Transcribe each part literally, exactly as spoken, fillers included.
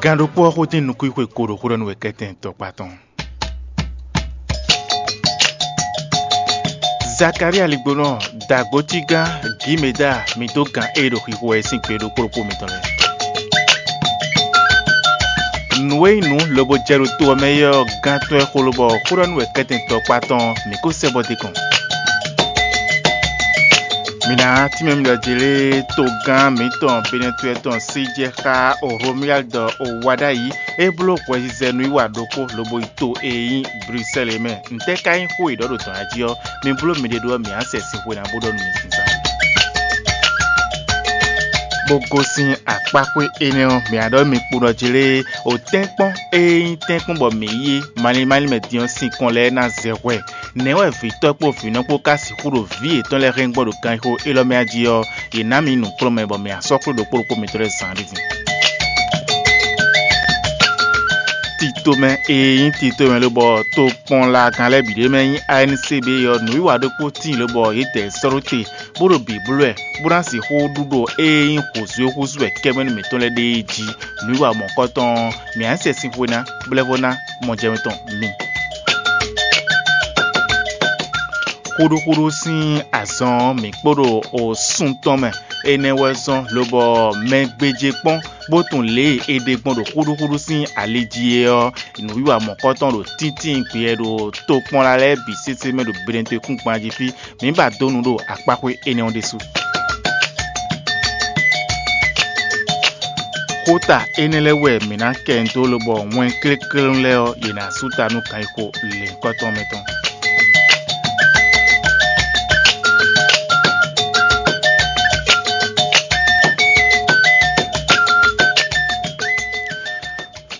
Gǎn ɖokpó ɔ́ xótín nukúnxwe ko ɖo xó ɖɔ nú wɛ kɛ́tɛn tɔkpá tɔn. Zakalía ligbonɔ, dǎgbócígán, Gímeda, mi dó gǎn e ɖo xixo wɛ sín gbe ɖokpó ɖokpó mitɔn lɛ́ɛ. Nǔ e nyí nǔ lobo jɛ ɖo to ɔ́ mɛ é ɔ́, gán tɔn e xo lobɔ xó ɖɔ nú wɛ kɛ́tɛn tɔkpá tɔn mǐ ko sɛ́ bɔ d'é kɔn. Mǐ ná tínmɛ mi ɖɔ jǐ lé togán mǐtɔn Benɛtwɛ tɔn sí jɛ xá Romuyáli dɔ Owaɖayi é bló hwɛzizɛ nú yi wa ɖokpó lobo yi to e nyí Blusɛ́li é mɛ. Ntɛ́ ka nyí xó e ɖɔ ɖo dɔ̌n jí ɔ́? Mi bló miɖée ɖó ɔ́, mǐ á sɛ sin xwe ná bó ɖɔ nú mi zínzán. Bó gosín akpáxwé énɛ́ ɔ́, mǐ á ɖɔ mi kpo ɖɔ jí lé o tɛ́nkpɔ́n e nyí tɛ́nkpɔ́n bɔ mǐ yí é, malín málín mɛ din ɔ́, sinkɔn lɛ́ɛ ná zɛ hwɛ. Nɛ̌ wɛ vǐtɔ́ kpó vǐnɔ kpó ka sixú ɖo vǐ yětɔn lɛ́ɛ hɛn gbɔn ɖo ganxixo élɔ́ mɛ a jí ɔ́? Yě ná mi nǔkplɔ́nmɛ bɔ mǐ á sɔ́ xwé ɖokpó ɖokpó mitɔn lɛ́ɛ zǎn ɖé din. Titomɛ e nyí titomɛ lobɔ tokpɔnlagán lɛ́ɛ bǐ ɖé mɛ nyí A N C B ɔ́, nǔwiwa ɖokpó tíin lobɔ yě dɛ sɔ́ ɖó te, bó ɖo bǐ bló wɛ, bó ná sixú ɖu ɖo e nyí hǒzú e húzú wɛ kɛ́mɛ́nú mǐtɔn lɛ́ɛ ɖe é jí. Nǔwiwa mɔ̌kɔtɔn ɔ́, mǐ á sɛ sin xwe ná, bó lɛ́ vɔ́ ná mɔjɛmɛ tɔn mi. Xúɖúxúɖú sín azɔn ɔ́, mǐ kpo ɖo osun tɔn mɛ. Énɛ́ wɛ zɔ́n lobɔ mɛ gbéjé kpɔ́n, bó tunwun lě e è ɖe gbɔn ɖo xúɖúxúɖú sín ali jí é ɔ́, nǔwiwa mɔ̌kɔtɔn ɖo tíntín gbeyɛ ɖo tokpɔnla lɛ́ɛ bǐ sésé mɛ ɖo Benɛtwekúngban jí fí. Mǐ ba dó nu ɖo akpáxwé énɛ́ ɔ́ ɖésú. Xóta énɛ́ lɛ́ɛ wɛ mǐ ná kɛ dó lobɔ wɛn kléklélú lɛ́ɛ ɔ́, yě ná sú ta nú kanxixo lěhunkɔtɔn mɛ tɔn.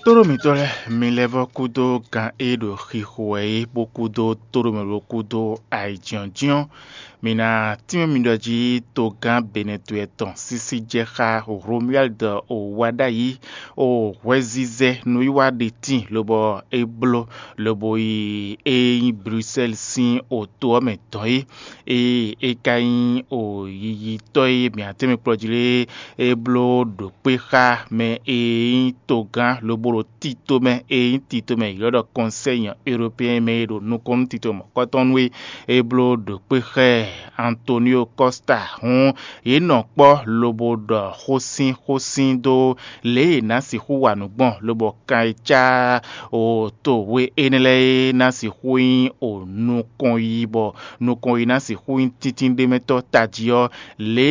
Tóɖó mǐtɔn lɛ́ɛ, mi lɛ́ vɔ́ kúdó gan e ɖo xixo wɛ é, bó kúdó tóɖó mɛ bó kúdó ayǐjínjɔ́n. Mi ná tínmɛ mi ɖɔ jí togán Benɛtwɛ tɔn sísí jɛ xá Romuyáli dɔ o wá ɖ'ayǐ o hwɛzizɛ nǔwiwa ɖe tíin lobɔ é bló lobo yi e nyí Blusɛ́li sín oto ɔ́ mɛ dɔn é. Ée é ka nyí o yiyitɔ́ e mǐ atɛ́nmɛ kplɔ́ jí lé é bló ɖo kpé xá mɛ e nyí togán lobo ɖo tito mɛ e nyí tito mɛ ylɔ́ ɖɔ Kɔnsɛ́yi Ewlopeyɛn mɛ e ɖo nukɔn nú tito mɔ̌kɔtɔn nú é. É bló ɖo kpé xá ɛ Antonio Kɔ́sta hǔn, yě nɔ kpɔ́ lobo ɖɔ xósínxósín dó lě e è nǎ sixú wa nǔ gbɔn, lobɔ kan e cá o to we énɛ́ lɛ́ɛ é ná sixú nyí o nukɔn yi bɔ nukɔn yi ná sixú nyí tíntín ɖé mɛ tɔ́ tají ɔ́, lě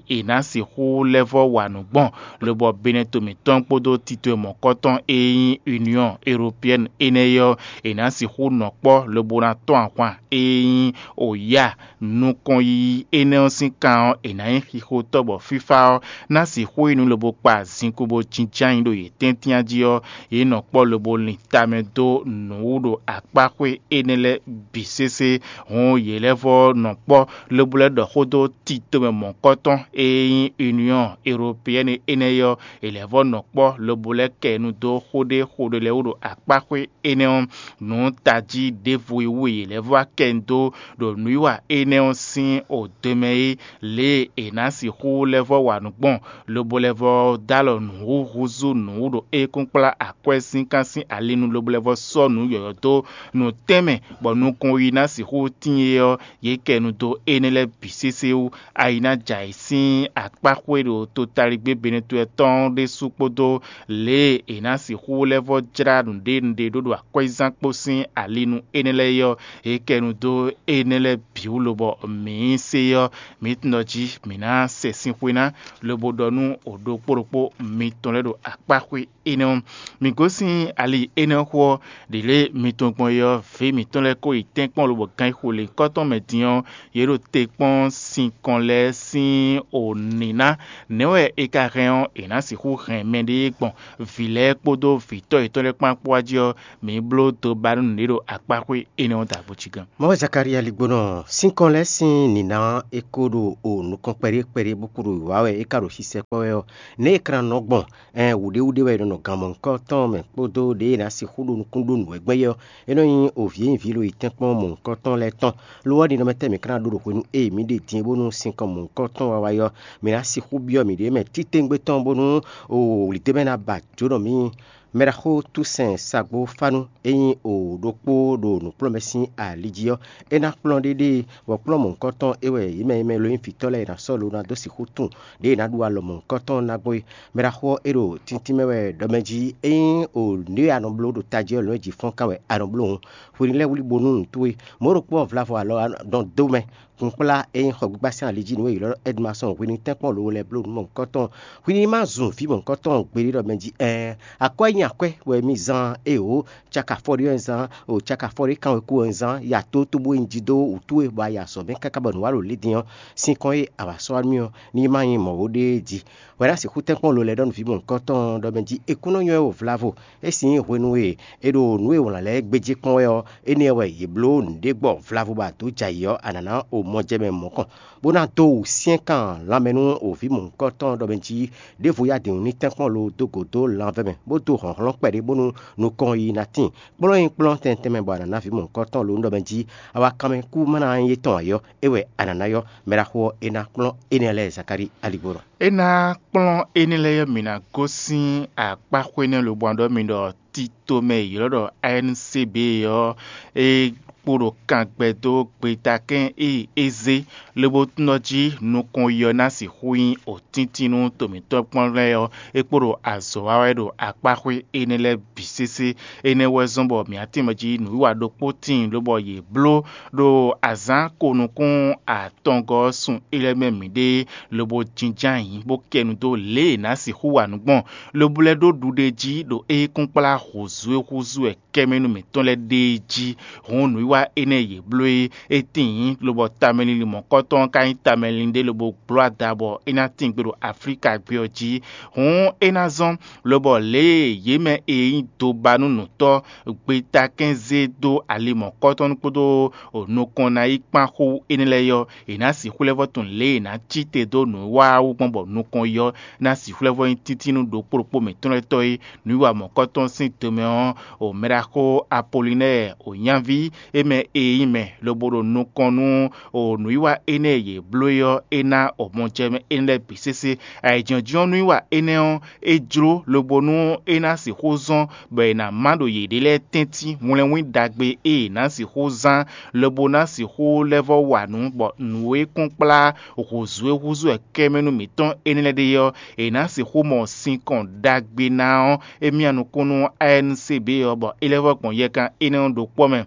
e è nǎ sixú lɛ́ vɔ́ wa nǔ gbɔn, lobɔ Benɛto mǐtɔn kpódó tito e mɔ̌kɔtɔn e nyí Union Européenne énɛ́ é ɔ́, è nǎ sixú nɔ kpɔ́ lobo ná tɔ́n ahwan e nyí o yá nukɔn yiyi énɛ́ ɔ́ sín kan ɔ́, è nǎ nyí xixotɔ́ bɔ fífá ɔ́ ná sixú yi nú lobo kpa zinkpo bó jínjɔ́n ayǐ ɖo yě tɛ́ntin jí ɔ́, yě nɔ kpɔ́ lobo lin tamɛ dó nǔwú ɖo akpáxwé énɛ́ lɛ́ɛ bǐ sésé. Hǔn yě lɛ́ vɔ́ nɔ kpɔ́ lobo lɛ́ ɖɔ xó dó tito mɛ mɔ̌kɔtɔn e nyí Union Européenne énɛ́ é ɔ́, yě lɛ́ vɔ́ nɔ kpɔ́ lobo lɛ́ kɛ nu dó xó ɖé xó ɖé lɛ́ɛ wú ɖo akpáxwé énɛ́ ɔ́. Nǔ tají ɖěvo e wú e yě lɛ́ vɔ́ wá kɛ nu dó ɖo nǔwiwa énɛ́ ɔ́ sín odwe mɛ é, lě e è nǎ sixú lɛ́ vɔ́ wa nǔ gbɔn, lobo lɛ́ vɔ́ dó alɔ nǔ húzú nǔ ɖo é kún kplá akwɛ́ sín kan sín ali nu, lobo lɛ́ vɔ́ sɔ́ nǔ yɔ̌yɔ́ dó nǔ tɛnmɛ, bɔ nukɔn yi ná sixú tíin é ɔ́, yě kɛ nu dó énɛ́ lɛ́ɛ bǐ sésé wú. Ayi ná jɛ ayǐ sín akpáxwé ɖo totaligbé Benɛtwɛ tɔn ɖésú kpódó lě e è nǎ sixú lɛ́ vɔ́ jlá nǔɖé nǔɖé ɖó ɖo akwɛ́zán kpó sín ali nu énɛ́ lɛ́ɛ é ɔ́, yě kɛ nu dó énɛ́ lɛ́ɛ bǐ wú lobɔ mǐ se ɔ́, mǐ tunwun ɖɔ jí mǐ ná sɛ sin xwe ná, lobo ɖɔ nú o ɖokpó ɖokpó mitɔn lɛ́ɛ ɖo akpáxwé énɛ́ ɔ́. Mǐ gosín ali énɛ́ xó ɔ́, ɖě lě mitɔn gbɔn é ɔ́, vǐ mǐtɔn lɛ́ɛ ko yi tɛ́nkpɔ́n lobɔ ganxixo lěhunkɔtɔn mɛ din ɔ́, yě ɖo te kpɔ́n sinkɔn lɛ́ɛ sín o nǐná. Nɛ̌ wɛ è ka hɛn ɔ́, è nǎ sixú hɛn mɛɖée gbɔn vǐ lɛ́ɛ kpódó vǐtɔ́ yětɔn lɛ́ɛ kpán kpó wá jí ɔ́, mǐ bló dó ba nú nǔɖé ɖo akpáxwé énɛ́ ɔ́ dǎgbó cí gán. Mɔ̌ wɛ Zakalía ligbónɔ sínkɔn Énɛ́ sín nǐná ɔ́, é ko ɖo o nukɔn kpɛɖé kpɛɖé bó kpo ɖo wǐwá wɛ é ka ɖo sisɛ kpɔ́ wɛ ɔ́, nɛ̌ è ka ná nɔ gbɔn? Ɛn wǔɖéwúɖé wɛ è nɔ nɔ gan mɔ̌hunkɔtɔn mɛ kpódó ɖěe è nǎ sixú ɖo nukún ɖó nǔ wɛ gbɛn é ɔ́, é nɔ nyí o vǐ e nyí vǐ lo yi tɛ́nkpɔ́n mɔ̌hunkɔtɔn lɛ́ɛ tɔn. Lo ɔ́, ɖi nɔ mɛ tɛ́ mǐ ka ná ɖó ɖo hwenu e mǐ ɖe din é bónú sinkɔn mɔ̌hunkɔtɔn wawa é ɔ́, mǐ ná sixú byɔ́ mǐɖée mɛ títewungbe tɔn bónú o wlǐdó mɛ ná ba jǒnɔ mǐ. Mɛɖaxó Túsɛn Sagbófanu e nyí o ɖokpó ɖo nǔkplɔ́nmɛ sín ali jí ɔ́, é ná kplɔ́n ɖéɖée, bɔ kplɔ́n mɔ̌hunkɔtɔn é wɛ yě mɛ e mɛ lo nyí vǐtɔ́ lɛ́ɛ è nǎ sɔ́ lo ná dó sixú tunwun ɖěe è nǎ ɖu alɔ mɔ̌hunkɔtɔn ná gbɔn é. Mɛɖaxó ɔ́, é ɖo tíntín mɛ wɛ ɖɔ mɛ jí é nyí o nǔ e a nɔ bló ɖo tají ɔ́ lɔ̌ jǐ fɔ́n ká wɛ a nɔ bló hǔn. Hwenu lɛ́ɛ wlí bónú nǔ towe. Mɔ̌ ɖokpó ɔ́ vlavo alɔ nɔ dó mɛ. Kunkplá e nyí xɔgbígbá sín ali jí nǔ e è ylɔ́ Ɛdmasɔn hwenu tɛ́nkpɔ́n lo lɛ́ɛ bló nǔ mɔ̌hunkɔtɔn. Hwi ní ma zun vǐ mɔ̌hunkɔtɔn gbeɖé ɖɔ mɛ jí ɛɛ, akwɛ́ nyí akwɛ́ wɛ mì zán éeǒ, caka fɔ́ɖé wɛ un zán, o caka fɔ́ɖé kan wɛ kú wɛ un zán, ya tótó bó nyi jí dó wǔtú we bɔ a yi azɔ̌ mɛ káká bɔ nǔ wa ɖo lě din ɔ́, sinkɔn e a wǎ sɔ́ wá nú mì ɔ́, ní ma nyí mɔ̌ ó ɖéé jí. Hwɛ ná sixú tɛ́nkpɔ́n lo lɛ́ɛ ɖɔ nú vǐ mɔ̌hunkɔtɔn ɔ́ ɖɔ mɛ jí è kún nɔ nywɛ́ o vlavo. É sín hwenu e è ɖo nǔ e wlǎn lɛ́ɛ gbéjé kpɔ́n wɛ ɔ́, énɛ́ wɛ yě bló nǔɖé gbɔ vlavo bɔ a dǒ jɛ ayǐ ɔ́, a nǎ ná o mɔjɛmɛ mɔ̌kɔn, bó ná dó wǔsyɛ́nkan lanmɛ nú o vǐ mɔ̌hunkɔtɔn ɖɔ mɛ jí ɖěvo yá dǐn ní tɛ́nkpɔ́n lo dó gǒ dó lanvɛ́ mɛ, bó dó hlɔ̌nhlɔ́n kpɛɖé bónú nukɔn yi ná tíin. Kplɔ́n nyi kplɔ́n tɛntɛn mɛ bɔ a nǎ ná vǐ mɔ̌hunkɔtɔn lo ɖɔ mɛ jí awa kanmɛ kú má ná nyí étɔn ǎ é ɔ́, é wɛ a nǎ ná yɔ́. Mɛɖaxó ɔ́, é ná kplɔ́n énɛ́ lɛ́ɛ Zakalíi aligbó nɔ. É ná kplɔ́n énɛ́ lɛ́ɛ ɔ́, mǐ ná gosín akpáxwé nɛ́ lobo ná ɖɔ mì ɖɔ tito mɛ e yě ylɔ́ ɖɔ A N C B ɔ́, é kpo ɖo kangbɛ dó gbetakɛ́n e é zé, lobo tunɔ jí nukɔn yi ɔ́ ná sixú nyí òtíntín nú to mǐtɔn kpɔ́n lɛ́ɛ ɔ́, é kpo ɖo azɔ̌ wa wɛ ɖo akpáxwé énɛ́ lɛ́ɛ bǐ sésé. Énɛ́ wɛ zɔ́n bɔ mǐ atínmɛ jí nǔwiwa ɖokpó tíin lobɔ yě bló ɖo azǎn ko nukún atɔngɔ́ ɔ́ sun é lɛ́ɛ mɛ mǐɖée, lobo jínjɔ́n ayǐ bó kɛ nu dó lě e è nǎ sixú wa nǔ gbɔn, lobo lɛ́ ɖó ɖuɖe jí ɖo éyíkúnkplá hǔzú e húzú wɛ kɛ́mɛnú mǐtɔn lɛ́ɛ ɖe é jí. Hǔn nǔwiwa énɛ́ e yě bló é, é tíin, lobɔ tamɛlinlin mɔ̌kɔtɔn ɔ́ ka nyí tamɛlinlin ɖé lobo gbló ada bɔ é ná tín gbe ɖo Aflíka gbé ɔ́ jí. Hǔn é ná zɔ́n, lobɔ lě e yě mɛ e nyí dobanúnǔtɔ́ gbetakɛ́n zé dó ali mɔ̌kɔtɔn kpódó nukɔn ná yi kpán xó énɛ́ lɛ́ɛ ɔ́, è nǎ sixú lɛ́ vɔ́ tunwun lě e è nǎ cí te dó nǔwiwa ɔ́ wú gbɔn bɔ nukɔn yi ɔ́ ná sixú lɛ́ vɔ́ nyí títí nú ɖokpó ɖokpó mǐtɔn lɛ́ɛ tɔ́ é. Nǔwiwa mɔ̌kɔtɔn sín domɛ ɔ́, o mɛɖaxó Apolinɛ́ɛ o nyaví é mɛ e nyí mɛ lobo ɖo nukɔn nú o nǔwiwa énɛ́ e yě bló é ɔ́, é ná o mɔjɛmɛ énɛ́ lɛ́ɛ bǐ sésé. Ayǐjínjɔ́n nǔwiwa énɛ́ ɔ́, é jló lobo nú é ná sixú zɔ́n bɔ è nǎ má ɖo yěɖée lɛ́ɛ tɛ́ntin hwlɛ́nwín ɖagbe e è nǎ sixú zán lobo ná sixú lɛ́ vɔ́ wa nǔ, bɔ nǔ e kún kplá hǔzú e húzú wɛ kɛ́mɛnú mǐtɔn énɛ́ lɛ́ɛ ɖe ɔ́, è nǎ sixú mɔ sinkɔn ɖagbe ná ɔ́, é myá nukún nú A N C B ɔ́, bɔ é lɛ́ vɔ́ gbɔn yɛkan énɛ́ ɔ́ ɖo kpɔ́ mɛ.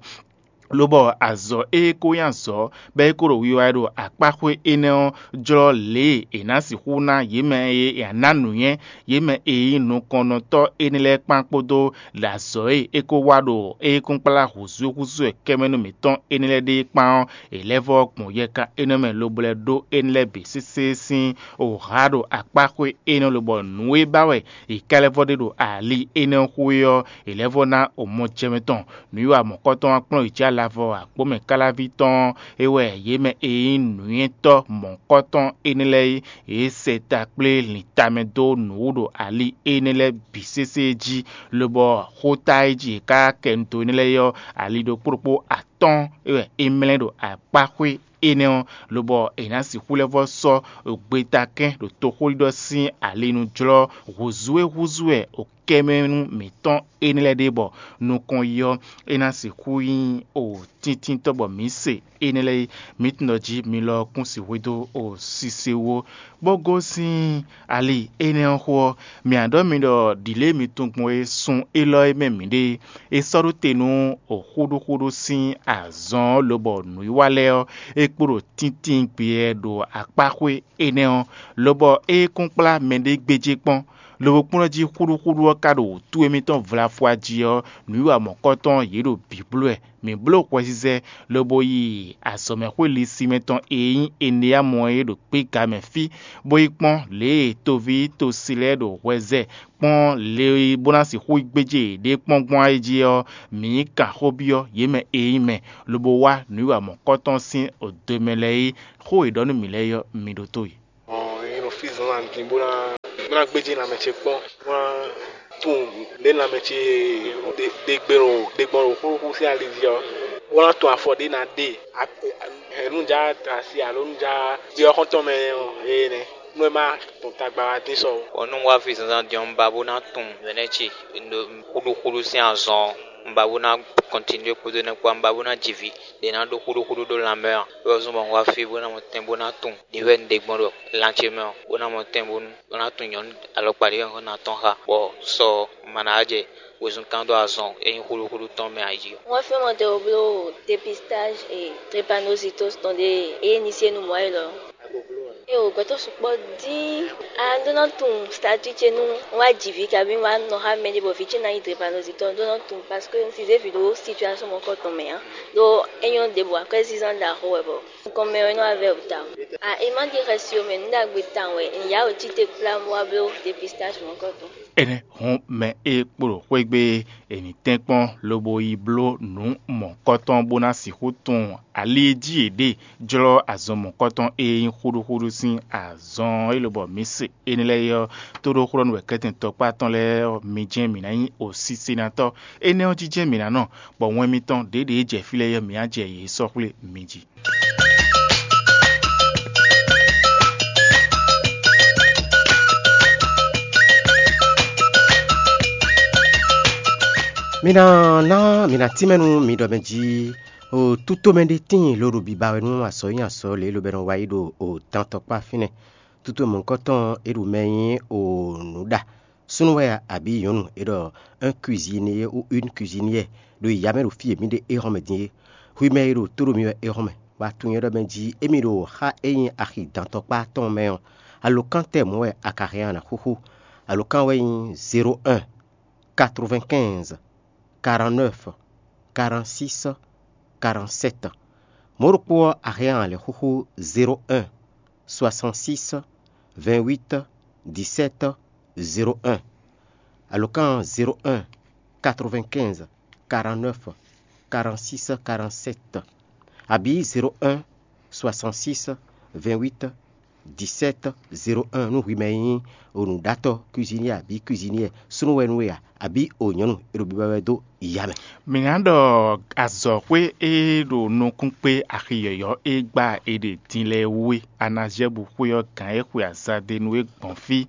Lobɔ azɔ̌ e ko nyí azɔ̌ bɔ é ko ɖo wiwa wɛ ɖo akpáxwé énɛ́ ɔ́ jlɔ́ lě e è nǎ sixú ná yě mɛ e è nǎ ná nǔnywɛ́, yě mɛ e nyí nukɔnnɔtɔ́ énɛ́ lɛ́ɛ kpán kpódó ɖo azɔ̌ e é ko wa ɖo éyíkúnkplá hǔzúhúzú wɛ kɛ́mɛnú mǐtɔn énɛ́ lɛ́ɛ ɖe é kpán ɔ́, è lɛ́ vɔ́ gbɔn yɛkan énɛ́ mɛ lobo lɛ́ ɖó énɛ́ lɛ́ɛ bǐ sésé sín wǔhá ɖo akpáxwé énɛ́ lobɔ nǔ e ba wɛ è ka lɛ́ vɔ́ ɖe ɖo ali énɛ́ xwé ɔ́, è lɛ́ vɔ́ ná omɔjɛmɛ tɔn. Nǔwiwa mɔ̌kɔtɔn wá kplɔ́n yě jí alavɔ akpó mɛ káláví tɔn ɔ́, é wɛ yě mɛ e nyí nǔnywɛ́tɔ́ mɔ̌kɔtɔn énɛ́ lɛ́ɛ é, yě sɛ ta kplé lin tamɛ dó nǔ wú ɖo ali énɛ́ lɛ́ɛ bǐ sésé jí, lobɔ xóta e jí yě ká kɛ nu dó énɛ́ lɛ́ɛ é ɔ́, ali ɖokpó ɖokpó atɔ́ɔ́n é wɛ é mlɛ́ ɖo akpáxwé énɛ́ ɔ́, lobɔ è nǎ sixú lɛ́ vɔ́ sɔ́ gbetakɛ́n ɖo toxóɖiɖɔ sín ali nu jlɔ́ hǔzú e húzú wɛ kɛ́mɛnú mǐtɔn énɛ́ lɛ́ɛ ɖe bɔ nukɔn yi ɔ́, é ná sixú nyí o tíntíntɔ́ bɔ mǐ se énɛ́ lɛ́ɛ é. Mǐ tunwun ɖɔ jí mi lɔ kún sixú dó o sise wú ó, bó gosín ali énɛ́ ɔ́ xó ɔ́, mǐ ná ɖɔ mi ɖɔ ɖǐ lě e mi tunwun gbɔn é sun élɔ́ é mɛ mǐ ɖe é. É sɔ́ ɖó te nú o xúɖúxúɖú sín azɔn ɔ́ lobɔ nǔwiwa lɛ́ɛ ɔ́, é kpo ɖo tíntín gbeyɛ ɖo akpáxwé énɛ́ ɔ́, lobɔ é kún kplá mɛɖé gbéjé kpɔ́n, Lobo kplɔ́n jí xúɖúxúɖú ɔ́ ka ɖo wǔtu émítɔn vlafwa jí ɔ́, nǔwiwa mɔ̌kɔtɔn yě ɖo bǐ bló wɛ. Mǐ bló hwɛzizɛ lobo yi azɔ̌mɛxwé lisinmɛ tɔn e nyí Eneyámu ɔ́ é ɖo gbéga mɛ fí, bó yi kpɔ́n lě e toví tosi lɛ́ɛ ɖo hwɛ zɛ kpɔ́n le e bó ná sixú gbéjé yěɖée kpɔ́n gbɔn ayé jí ɔ́, mǐ yi kan xó byɔ́ yě mɛ e nyí mɛ, lobo wá nǔwiwa mɔ̌kɔtɔn sín odwe mɛ lɛ́ɛ é. Xó e è ɖɔ nú mǐ lɛ́ɛ ɔ́, mi ɖótó e. Ɔ́, é nɔ fí zǎnzǎn din bó ná bó ná gbéjé lanmɛ ce kpɔ́n, bó ná tunwun lě lanmɛ ce ɖe ɖe gbɔn ɖo xóxó sín ali jí ɔ́, bó ná tunwun afɔ ɖě ná ɖe. Nǔjá asi alo nǔjá byɔ́ xɔ́ntɔn mɛ ɔ́, é nɛ́ nú é má tɔn tagba wá dín sɔ ó. Bɔ nú un wá fí zǎnzǎn din ɔ́, un ba bó ná tunwun mɛ̌nɛ́ ce xúɖúxúɖú sín azɔn ɔ́, un ba bó ná kɔntinué kpódó énɛ́ kpó, un ba bó ná ji vǐ ɖě ná ɖó xúɖúxúɖú ɖó lanmɛ ɔ́, é wɛ zɔ́n bɔ un wá fí bó ná mɔ tɛn bó ná tunwun ɖě wɛ un ɖe gbɔn ɖo lan ce mɛ ɔ́, bó ná mɔ tɛn bónú bó ná tunwun nyɔ̌nu alɔkpa ɖé wɛ un ná tɔn xá, bɔ sɔ ma ná jɛ wezun kan dó azɔn e nyí xúɖúxúɖú tɔn mɛ ǎ jí. Wọ́n fẹ́ mɔ tɛ wo bló dépistage et drépanocytose tɔn ɖé e ní se nu mɔ̌ élɔ́. E o gbɛtɔ́ sukpɔ́ dín a ɖó ná tunwun statut ce nú wá jǐ vǐ kabi wá nɔ xá mɛ ɖé bɔ vǐ ce ná nyí drépanocytose ɖó ná tunwun parce que un si zé vǐ ɖó situation mɔ̌kɔtɔn mɛ ǎ. Ɖó é nyɔ́ ɖěbǔ akwɛ́zínzán ɖaxó wɛ bɔ nukɔn mɛ ɔ́ é nɔ wá vɛ́ wǔ tawun. A é má ɖi xɛsi ó mɛ nǔ ɖagbe tawun wɛ un yá wǒ cí te kplá bó wá bló dépistage mɔ̌kɔtɔn. Énɛ́ hɔn mɛ e kpo ɖo xwé gbe é, è nǐ tɛ́nkpɔ́n lobo yi bló nǔ mɔ̌kɔtɔn bó ná sixú tunwun ali e jí è ɖe jlɔ́ azɔn mɔ̌kɔtɔn e nyí xúɖúxúɖú sín azɔn e lobɔ mǐ se énɛ́ lɛ́ɛ é ɔ́, tóɖóxlɔ́nú wɛ kɛ́tɛn tɔkpá tɔn lɛ́ɛ ɔ́, mi jɛ́n mǐ ná nyí osísénatɔ́. Énɛ́ ɔ́ jijɛ mǐ ná nɔ, bɔ wɛn mitɔn ɖěɖě jɛ fí lɛ́ɛ ɔ́, mǐ á jɛ yě sɔ́ xwlé mi jí. Mi ná ná mi ná tínmɛ nú mi ɖɔ mɛ jí, o tútomɛ ɖé tíin ló ɖo biba wɛ nú azɔ̌ nyi azɔ̌ lě e lobɛ́nɔ wa yí ɖo o dantɔkpá fínɛ́. Tútomɛ mɔ̌hunkɔtɔn e ɖo mɛ nyí o nǔɖa súnnu wɛ a, abǐ nyɔ̌nu e ɖɔ un cuisinier ou une cuisinière ɖo yǐyá mɛ ɖo fí e mǐ ɖe éhɔ́n mɛ din é. Hwi mɛ e ɖo tó ɖo mi wɛ éhɔ́n mɛ, bɔ a tunwun nyɛ ɖɔ mɛ jí émí ɖo xá e nyí axi dantɔkpá tɔn mɛ ɔ́, alokán tɛ́ mɔ̌ wɛ a ka hɛn a nǎ xúxú? Alokán wɛ nyí zéro un, quatre-vingt-quinze, quarante-neuf, quarante-six, quarante-sept. Mɔ̌ ɖokpó ɔ́, a hɛn a lɛ̌ xúxú zéro un, soixante-six, vingt-huit, dix-sept, zéro un. Alokán zéro un, quatre-vingt-quinze, quarante-neuf, quarante-six, quarante-sept, abǐ zéro un, soixante-six, vingt-huit, dix-sept, zéro un nú hwi mɛ e nyí nǔɖatɔ́ cuisinier abǐ cuisinière súnnu wɛ nú we a, abǐ o nyɔ̌nu e ɖo biba wɛ dó ya mɛ. Mǐ ná ɖɔ azɔ̌xwé e ɖo nukún kpé axi yɔ̌yɔ́ e gbá è ɖe din lɛ́ɛ wú é. A ná zɛ́ bu xwé ɔ́ gǎn e xwe azadenu é gbɔn fí,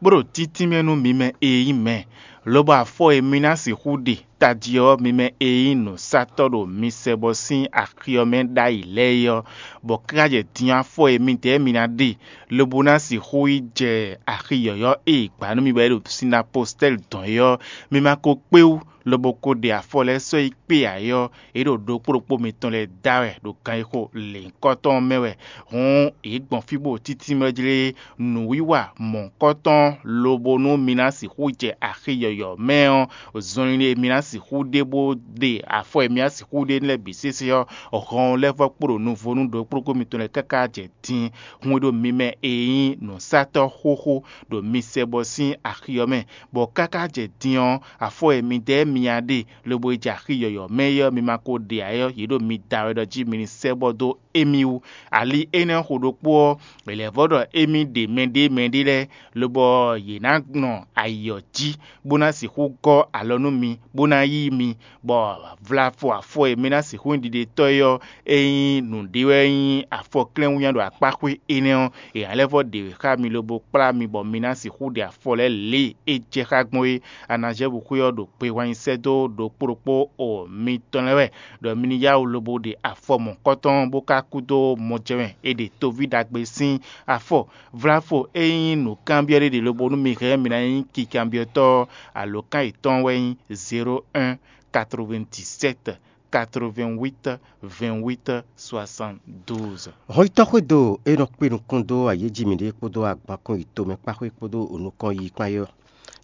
bó ɖo títínmɛ nú mi mɛ e nyí mɛ, lobo afɔ e mi ná sixú ɖe tají ɔ́, mi mɛ e nyí nǔsatɔ́ ɖo mi sɛ bɔ sín axi ɔ́ mɛ ɖ'ayǐ lɛ́ɛ é ɔ́, bɔ káká jɛ din afɔ e midɛɛ mi ná ɖe, lobo ná sixú yi jɛ axi yɔ̌yɔ́ e è gbǎ nú mi bɔ é ɖo sinapostɛ́li dɔn é ɔ́, mi ma ko kpé wú, lobo ko ɖe afɔ lɛ́ɛ sɔ́ yi kpé ǎ é ɔ́, é ɖo ɖokpó ɖokpó mitɔn lɛ́ɛ da wɛ ɖo kan e xo lěhunkɔtɔn ɔ́ mɛ wɛ. Hǔn yě gbɔn fí bó títí mɛ jlé nǔwiwa mɔ̌hunkɔtɔn lobo nú mi ná sixú jɛ axi yɔ̌yɔ́ mɛ ɔ́, zɔnlin e mi ná sixú ɖe bó ɖe afɔ e mi ná sixú ɖe lɛ́ɛ bǐ sésé ɔ́, hɔn lɛ́ vɔ́ kpo ɖo nuvo nú ɖokpóɖokpó mitɔn lɛ́ɛ káká jɛ din. Hun e ɖo mi mɛ e nyí nǔsatɔ́ xóxó ɖo mi sɛ bɔ sín axi ɔ́ mɛ, bɔ káká jɛ din ɔ́, afɔ e midɛɛ mia ɖe lobo yi jɛ axi yɔ̌yɔ́ mɛ é ɔ́, mi ma ko ɖe ǎ é ɔ́, yě ɖo mi da wɛ ɖɔ jí mi ní sɛ́ bɔ dó émí wú. Ali énɛ́ xo ɖokpó ɔ́, è lɛ̌ vɔ́ ɖɔ émí ɖe mɛɖé mɛɖé lɛ́ɛ, lobɔ yě ná nɔ ayǐ ɔ́ jí, bó ná sixú gɔ́ alɔ nú mi, bó ná yí mi, bɔ vlafɔ afɔ e mi ná sixú nyí ɖiɖetɔ́ é ɔ́, é nyí nǔɖé wɛ nyí afɔklɛ́nwínnyá ɖo akpáxwé énɛ́ ɔ́, è nǎ lɛ́ vɔ́ ɖe xá mi lobo kplá mi bɔ mi ná sixú ɖe afɔ lɛ́ɛ lě e é jɛ xá gbɔn é. Anazɛ́vu xwé ɔ́ ɖo gbe wannyi sɛ́ dó ɖokpó ɖokpó o mitɔn lɛ́ɛ wɛ, ɖɔ mi ní yá wǔ lobo ɖe afɔ mɔ̌kɔtɔn bó ka kú dó mɔjɛmɛ e ɖe toví ɖagbe sín afɔ. Vlafo e nyí nǔkanbyɔ́ ɖé ɖe lobo nú mi hɛn mi ná nyí kikanbyɔ́tɔ́ ɔ́, alǒkan yětɔn wɛ nyí zéro un, quatre-vingt-dix-sept, quatre-vingt-huit, vingt-huit, soixante-douze. Hɔnyitɔ́ xwédo e nɔ kpe nukún dó ayéjí mǐɖée kpódó agbankún yi tomɛ kpáxwé kpódó nukɔn yi kpán é ɔ́,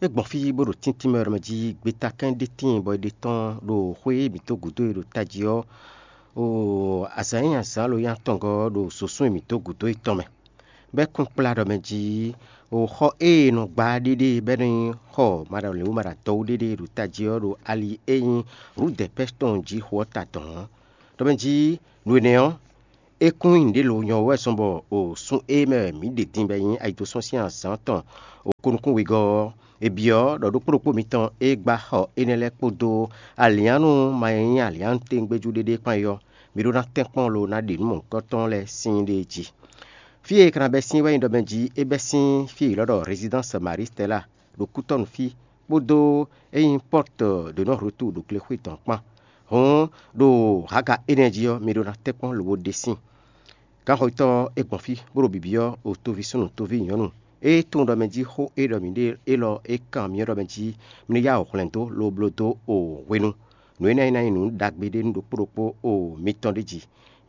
É gbɔn fí bó ɖo tíntín mɛ ɖɔ mɛ jí gbeta kɛ́n ɖé tíin bɔ è ɖe tɔ́n ɖo xwé e mǐ dó gǔdo e ɖo tají ɔ́, o azǎn e nyi azǎn lo nyi atɔngɔ́ ɔ́ ɖo zǒsún e mǐ dó gǔdo e tɔn mɛ. Bɔ é kún kplá ɖɔ mɛ jí o xɔ e è nɔ gbá ɖéɖé bɔ é nɔ nyí xɔ maɖalěwú maɖadɔwú ɖéɖé ɖo tají ɔ́ ɖo ali e nyí Rudɛpɛ́ tɔn jí xo ɔ́ ta dɔ̌n ɔ́. Ɖɔ mɛ jí nǔ énɛ́ ɔ́, é kún nyí nǔɖé lo nyɔ wɛ zɔn bɔ o sun e mɛ wɛ mǐ ɖe din bɔ é nyí ayidosɔ́ sín azǎn tɔn o ko nukún wegɔ́ ɔ́, è byɔ́ ɖɔ ɖokpó ɖokpó mitɔn e gbá xɔ énɛ́ lɛ́ɛ kpódó alǐannu ma e nyí alǐannu tɛ́ngbéjú ɖéɖé kpán é ɔ́, mi ɖó ná tɛ́nkpɔ́n lo ná ɖe nǔ mɔ̌hunkɔtɔn lɛ́ɛ sín ɖée jí. Fí e è ka ná bɛ́ sín wɛ nyí ɖɔ mɛ jí é bɛ́ sín fí e è ylɔ́ ɖɔ Résidence Marie Stella ɖo kútɔ́nu fí, kpódó e nyí Porte de non retour ɖo glexwé tɔn kpán. Hǔn ɖo haga énɛ́ jí ɔ́, mi ɖó ná tɛ́nkpɔ́n lobo ɖe síin. Gǎnxɔyítɔ́ ɔ́, é gbɔn fí bó ɖo bibyɔ́ o toví súnnu toví nyɔ̌nu e tunwun ɖɔ mɛ jí xó e ɖɔ mǐ ɖe élɔ́ é kan myɔ ɖɔ mɛ jí mi ní yá wǔ hwlɛ̌n dó lobo bló dó o hwenu. Nǔ énɛ́ ná nyí nǔ ɖagbe ɖé nú ɖokpó ɖokpó o mitɔn ɖ'é jí.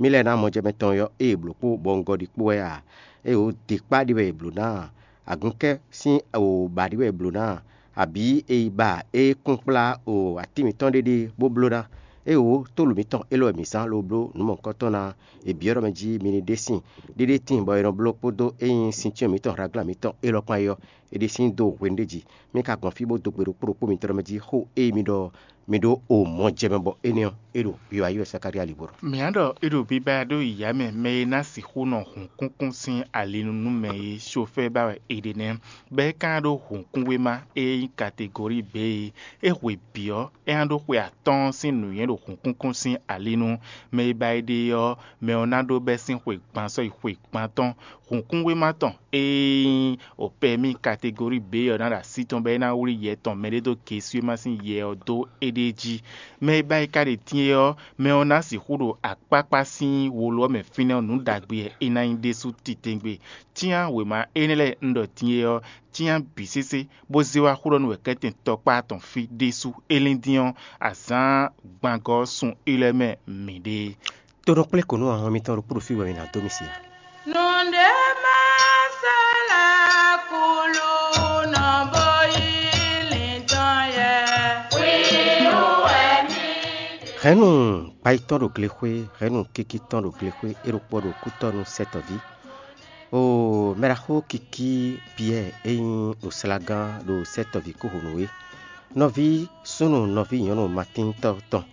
Mǐ lɛ́ɛ ná mɔ jɛ mɛ tɔn ɔ́ ée blǒ kpó bɔ un gɔ ɖi kpó wɛ a? Ée wǒ de kpá ɖi wɛ è blǒ ná a? Agɔnkɛ́ sín wǒ ba ɖi wɛ è blǒ ná a? Abǐ è yi ba é kún kplá o atín mǐtɔn ɖé ɖe bó bló ná? Ée wǒ tólu mǐtɔn élɔ́ wɛ mǐ zán lobo bló nǔ mɔ̌hunkɔtɔn ná a? È byɔ́ ɖɔ mɛ jí mi ní ɖe síin. Ɖéɖé tíin bɔ è nɔ bló kpódó e nyí sincyɔ́n mǐtɔn Hlaglán mǐtɔn élɔ́ kpán é ɔ́, è ɖe sín dó hwenu ɖé jí. Mí ka gbɔn fí bó dó gbe ɖokpó ɖokpó mitɔn mɛ jí xó e mi ɖɔ mi ɖó o mɔ jɛ mɛ bɔ énɛ́ ɔ́, é ɖo wiwa yi wɛ Zakalía li bó ɖɔ. Mǐ á ɖɔ é ɖo biba ɖó yǐyá mɛ mɛ e ná sixú nɔ hǔnkúnkún sín ali nu nú mɛ e sofɛ́ ba wɛ è ɖe nɛ́, bɔ é ka ná ɖó hǔnkúnwéma e nyí kategori B e é hwe bǐ ɔ́, é ná ɖó xwe atɔ́ɔ́n sín nǔnywɛ́ ɖo hǔnkúnkún sín ali nu. Mɛ e ba é ɖe ɔ́, mɛ ɔ́ ná ɖó bɛ́ sín xwe gban sɔ́ yi xwe gban tɔn. Hǔnkúnwéma tɔn e nyí opɛmí kategori B ɔ́ ná ɖo así tɔn bɔ é ná wlí yɛ tɔn mɛɖé dó gesúwéma sín yɛ ɔ́ dó éɖée jí. Mɛ e ba yi ka ɖe din é ɔ́, mɛ ɔ́ ná sixú ɖo akpákpá sín wolo ɔ́ mɛ fínɛ́ ɔ́ nǔ ɖagbe wɛ é ná nyí ɖésú titewungbe. Cyán wěma énɛ́ lɛ́ɛ un ɖɔ din é ɔ́, cyán bǐ sésé, bó zé wá xó ɖɔ nú wɛ̌kɛ́tɛn tɔkpá tɔn fí ɖésú. É lín dín ɔ́, azǎn gbangɔ ɔ́ sun élɔ́ mɛ mǐɖée. Tonɔ kplé kǒ nú ahɔn mitɔn ɖokpó ɖo fí bɔ mi ná dó mi si ǎ. Nǔɖé má sɔ́ lɛ́ kúlú nɔ bó yí lǐntɔn yɛ. Hwíhú wɛ mí. Hɛ̌nnu gbayitɔ́ ɖo glexwé, hɛ̌nnu kikitɔ́ ɖo glexwé, é ɖokpó ɖo kútɔ́ nú sɛ́tɔ̌ví. Oo, mɛɖaxó kikí Piyɛ́ɛ é nyí oslagán ɖo sɛ́tɔ̌ví kúhunú é. Nɔví súnnu nɔví nyɔ̌nu Matíntɔ́ tɔn.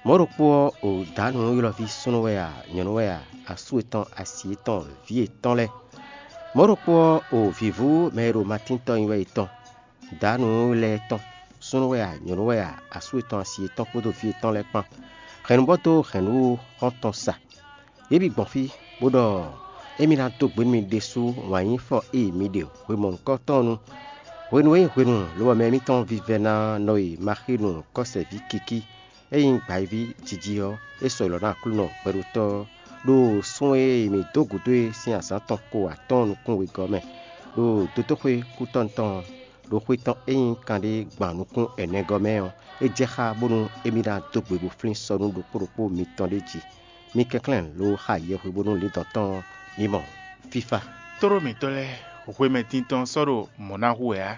Mɔ̌ ɖokpó ɔ́, o dǎnǔ ylɔ́ví súnnu wɛ a, nyɔ̌nu wɛ a, asú yětɔn, asi yětɔn, vǐ yětɔn lɛ́ɛ. Mɔ̌ ɖokpó ɔ́, o vǐvú mɛ e ɖo Matín tɔn nyi wɛ yětɔn. Dǎnǔ lɛ́ɛ tɔn, súnnu wɛ a, nyɔ̌nu wɛ a, asú yětɔn, asi yětɔn kpódó vǐ yětɔn lɛ́ɛ kpán. Hɛ̌nnubɔ́ dó hɛ̌nnu xɔ́ntɔn sa. Yě bǐ gbɔn fí, bó ɖɔ émí ná dó gbe nú mi ɖésú wǎn yí fɔ e mi ɖe hwe mɔ̌hunkɔtɔn nu. Hwenu e nyí hwenu lobɔ mɛ mitɔn vívɛ́ná nɔ e Maxínu kɔ́sɛví kikí, é nyí gbǎyíví jiji ɔ́, é sɔ́ yi lɔ nú Aklúnɔ hwɛɖótɔ́ ɔ́, ɖo sun e mǐ dó gǔdo e sín azǎn tɔn ko atɔ́ɔ́n nukún wegɔ́ mɛ, ɖo dotóxwé kútɔ́ tɔn, ɖo xwe tɔn e nyí kanɖé gban nukún ɛnɛgɔ́ mɛ ɔ́, é jɛ xá bónú émí ná dó gbe bó flín sɔ́ nú ɖokpó ɖokpó mitɔn ɖé jí. Mi kɛnklɛ́n lo xa yɛhwe bónú lǐndɔ̌n tɔn ɔ́, mi mɔ fífá. Tlóló mǐtɔn lɛ́ɛ, hwemɛ tintɔn sɔ́ ɖo mɔ̌ ná hu wɛ ǎ.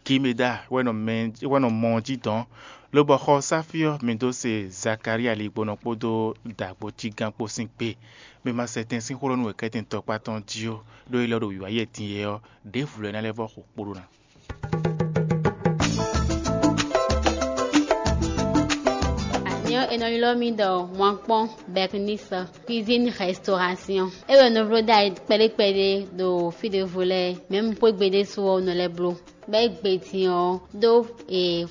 Gimeda wɛ nɔ mɛ wɛ nɔ mɔ ɔ́ jí dɔn, lobɔ xɔ sáfí ɔ́ mi dó se Zakalía ligbɔnɔ kpódó dǎgbójígán kpó sín gbe. Mi ma sɛ tɛn sín xó lɔ nú wɛ̌kɛ́tɛn tɔkpá tɔn jí ó, ɖó é lɔ ɖo wǐwá yɛ din é ɔ́, ɖěvo lɛ́ɛ ná lɛ́ vɔ́ xo kpo ɖó ná. Anyɔ è nɔ ylɔ́ mì ɖɔ Mwankpɔ́n Bɛknisɔ, cuisine restauration. É wɛ nɔ vló ɖ'ayǐ kpɛɖé kpɛɖé ɖo fí ɖěvo lɛ́ɛ, mɛ̌ un xwé gbe ɖésú ɔ́, un nɔ lɛ́ bló. Bɔ é gbe din ɔ́, ɖó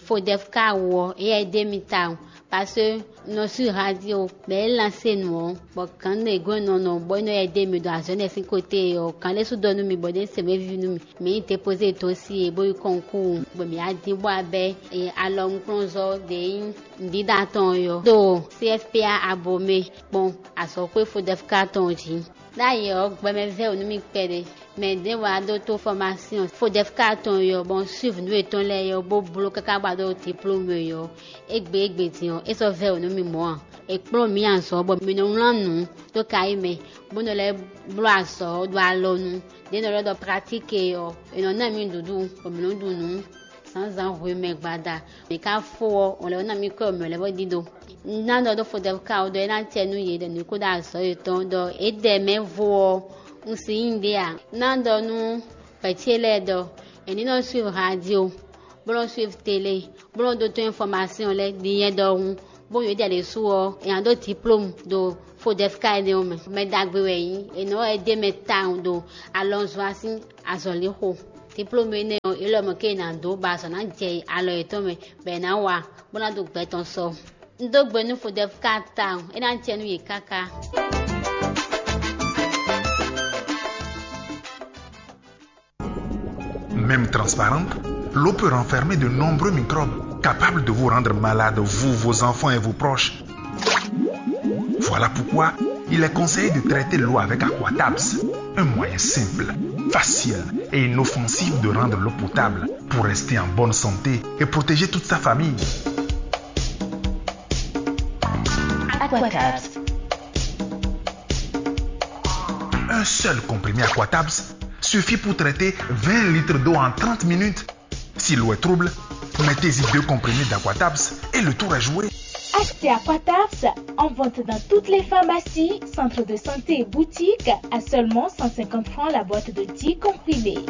Fodɛfka wú ɔ́, éyɛ́ é ɖe mì tawun, parce que un nɔ suivre radio, bɔ é lancé nǔ ɔ́, bɔ gǎn ɖě gɔ́n nɔ nɔ bɔ é nɔ yɛ ɖe mì ɖo azɔ̌ énɛ́ sín côté ɔ́, gǎn ɖé sú ɖɔ nú mì bɔ é ɖe se mɛ víví nú mì. Mǐ yi déposer dossier bó yi concours, bɔ mǐ wá dín bó wá bɛ́ alɔnukplɔ́nzɔ́ ɖě nyí nǔɖiɖa tɔn ɔ́ ɖo C F P A Abomey kpɔ́n azɔ̌xwé Fodɛfka tɔn jí. Ɖ'ayǐ ɔ́, gbɛmɛ vɛ́ wǔ nú mì kpɛɖé. Mɛ ɖěvo wá ɖó tó formation Fodɛfka tɔn ɔ́, bɔ un suivre nǔ yětɔn lɛ́ɛ ɔ́, bó bló káká bó wá ɖó diplôme ɔ́. Égbé égbé din ɔ́, é sɔ́ vɛ́ wǔ nú mì mɔ̌ ǎ. È kplɔ́n mǐ azɔ̌ bɔ mǐ nɔ wlán nǔ dó kayí mɛ, bó nɔ lɛ́ bló azɔ̌ ɖo alɔnu. Đě nɔ lɛ́ ɖɔ pratique ɔ́, è nɔ ná mǐ nǔɖuɖu, bɔ mǐ nɔ ɖu nǔ. Zǎnzǎn hwe mɛ gbada, mǐ ka fó ɔ́, ɔn lɛ́ ná mì kɔ́ mɛ lɛ́ bó ɖíɖó. Un ná ɖɔ ɖó Fodɛfka ɔ́ ɖɔ é ná acɛ nú yě ɖɔ nǔ kó ɖo azɔ̌ yětɔn ɖɔ é ɖɛ mɛ vó ɔ́, un si nyí ɖé ǎ. Un ná ɖɔ nú vɛ̌ ce lɛ́ɛ ɖɔ è ní nɔ suivre radio, bó nɔ suivre télé, bó nɔ ɖótó information lɛ́ɛ din nyɛ ɖɔhun, bó yǒ jɛ ɖésú ɔ́, è nǎ ɖó diplôme ɖo Fodɛfka énɛ́ ɔ́ mɛ. Mɛ ɖagbe wɛ é nyí, è nɔ wɛ é ɖe mɛ tawun ɖo alɔnzɔ́ sín azɔ̌lixo. Diplôme énɛ́ ɔ́, é lɔ mɔ̌ ké è nǎ dó bɔ azɔ̌ ná jɛ alɔ yětɔn mɛ, bɔ è nǎ wa, bó ná dó gbɛ tɔn sɔ. Un dó gbe nú Fodɛfka tawun, é ná jɛ nú yě káká. Même transparente, l'eau peut renfermer de nombreux microbes capables de vous rendre malade, vous, vos enfants et vos proches. Voilà pourquoi il est conseillé de traiter l'eau avec Aquatabs, un moyen simple, facile et inoffensif de rendre l'eau potable pour rester en bonne santé et protéger toute sa famille. Aquatabs. Un seul comprimé Aquatabs suffit pour traiter vingt litres d'eau en trente minutes. Si l'eau est trouble, mettez-y deux comprimés d'Aquatabs et le tour est joué. Achetez Aquatabs en vente dans toutes les pharmacies, centres de santé et boutiques à seulement cent cinquante francs la boîte de dix comprimés.